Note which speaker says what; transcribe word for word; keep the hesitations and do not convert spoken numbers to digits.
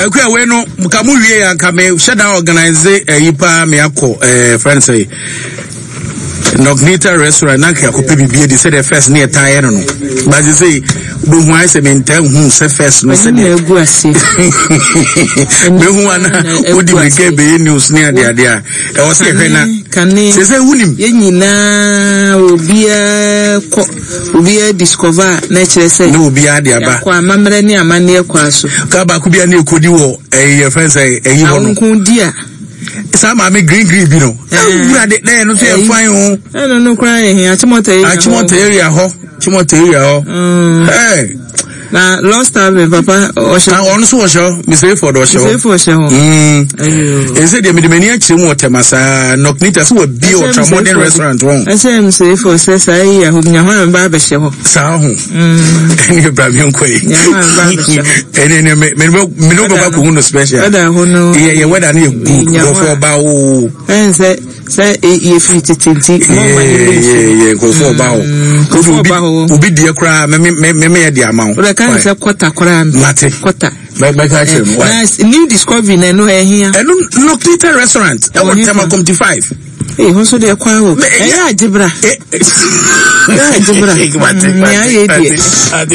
Speaker 1: Akua wei no ka mo wie ya nka me hyɛ da organize ayi paa me akɔ eh friend say Nognita restaurant na nka akɔpɛ biribi adi sɛdeɛ first ne yɛtaa yɛ no no but sɛ wobɛhu ayɛ sɛ mentaa hu sɛ first no sɛdeɛ
Speaker 2: gu ase
Speaker 1: mehu ana wodi mirika bɛyɛ news ne adeade a ɛwɔ sɛ yɛhwɛ na
Speaker 2: kane
Speaker 1: sɛ sɛ wonim.
Speaker 2: Yɛn nyinaa, obiara kɔ, obiara discover a, na ɛkyerɛ sɛ
Speaker 1: na obiara de aba.
Speaker 2: Yɛakɔ amammerɛ ne amanneɛ kwan so.
Speaker 1: Ka baako bi a ne ɛkɔdi wɔ ɛyi yɛfrɛ sɛ ɛyi hɔ no.
Speaker 2: Awonko di a.
Speaker 1: Saa maame green green bi no. Ɛwura de na ɛno nso yɛ fine o.
Speaker 2: Ɛno no koraa yɛ hɛn Achimota area hɔ.
Speaker 1: Achimota area hɔ. Achimota area hɔ. Hey.
Speaker 2: Na Lost Tavern papa ɔhyɛ.
Speaker 1: Na ɔno nso wɔhyɛ hɔ. Mister Eford ɔhyɛ hɔ.
Speaker 2: Mister Eford ɔhyɛ hɔ.
Speaker 1: Ɛsɛ deɛ mede m'ani akyerɛ mu wɔ Tema saa Nocnita sɛ wɔabie Ultra Modern Restaurant wɔn.
Speaker 2: Ɛsɛ Mister Eford sɛ saa yi yɛ hɔ nya hɔ a meba abɛhyɛ hɔ.
Speaker 1: Saa ho. Ɛne bra mi nkɔ yi.
Speaker 2: Nya hɔ a meba abɛhyɛ hɔ.
Speaker 1: Ɛne ɛne me me me ne wobɛkɔ akɔhu no special.
Speaker 2: Wɛda hɔ no.
Speaker 1: Yɛ yɛ wɛda no yɛ good. Nkurɔfoɔ ba o.
Speaker 2: Ɛn sɛ sɛ yɛfiri tete nti mɔmma ne bɛ nsu.
Speaker 1: Yɛ nkurɔfoɔ ba o.
Speaker 2: Nkurɔfoɔ ba hɔ.
Speaker 1: Obi deɛ koraa me me me me yɛ de ama wo.
Speaker 2: Wọ́n ká ní sɛ kɔta koraa mi.
Speaker 1: Mate.
Speaker 2: Kɔta.
Speaker 1: Bɛka kyerɛ mu.
Speaker 2: Na new discovery na ɛno ɛhia.
Speaker 1: Ɛno Nocnita restaurant ɛwɔ Tema Community five.
Speaker 2: Ee hɔ nso deɛ kwan wɔ. Ɛyɛ agyebra. Ɛyɛ agyebra. Nea ayɛ deɛ.